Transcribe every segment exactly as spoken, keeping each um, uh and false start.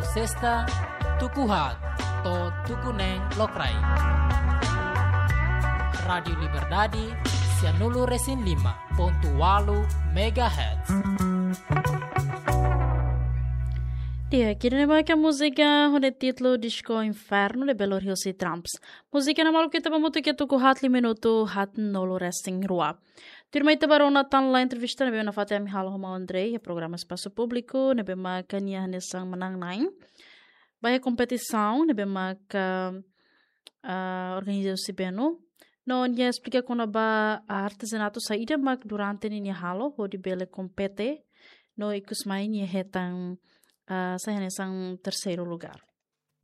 Sesta, tuku haat to'o tuku neen lokraik. Rádiu Liberdade, sianulu resin lima pontu walu megahertz. Di'ak, ida-ne'e mak múzika ho títulu Disco Inferno ne'ebé lori husi Tramps. Múzika ne'e maluk ita ba hamutuk iha tuku haat lima minutu haatnulu resin rua. Tuirmai ita ba rona tan ona entrevista ne'ebé nafatin ami halo ho maun André iha programa Espasu Públiku ne'ebé mak nia hanesan manán-na'in ba iha kompetisaun ne'ebé mak, ah, organiza husi Benu. No nia esplika kona-ba artezanatu saida mak durante ne'e nia halo hodi bele kompete. No ikus mai nia hetan, ah, sai hanesan terseiru lugár.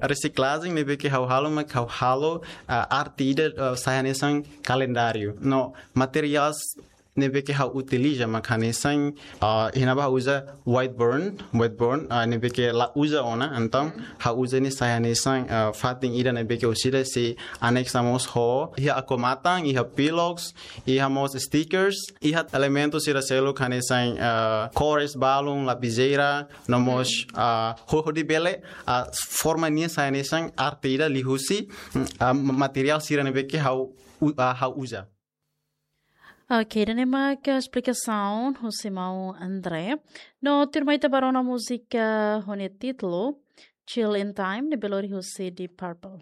Resiklajen ne'ebé ke ha'u halo mak ha'u halo, ah, arte ida, ah, sai hanesan kalendáriu. No materiais ne'ebé ke ha'u utiliza mak hanesan, ah, iha ne'ebá ha'u uza wide board, wide board, ah, ne'ebé ke la uza ona, entaun ha'u uza ne'e sai hanesan, ah, fatin ida ne'ebé ke ha'u sira sei anexa mós ho, iha akua-matan, iha pillowcase, iha mós stickers, iha elementu sira seluk hanesan, ah, kores balun, lapizeira, no mós, ah, ho-, hodi bele, ah, forma nian sai hanesan arte ida liuhusi, mm, ah, ma-, materiál sira ne'ebé ke ha'u u-, ah, ha'u uza. Ok, ida-ne'e mak esplikasaun husi maun André. No tuirmai ita ba rona múzika ho títulu Chill in Time ne'ebé lori husi Deep Purple.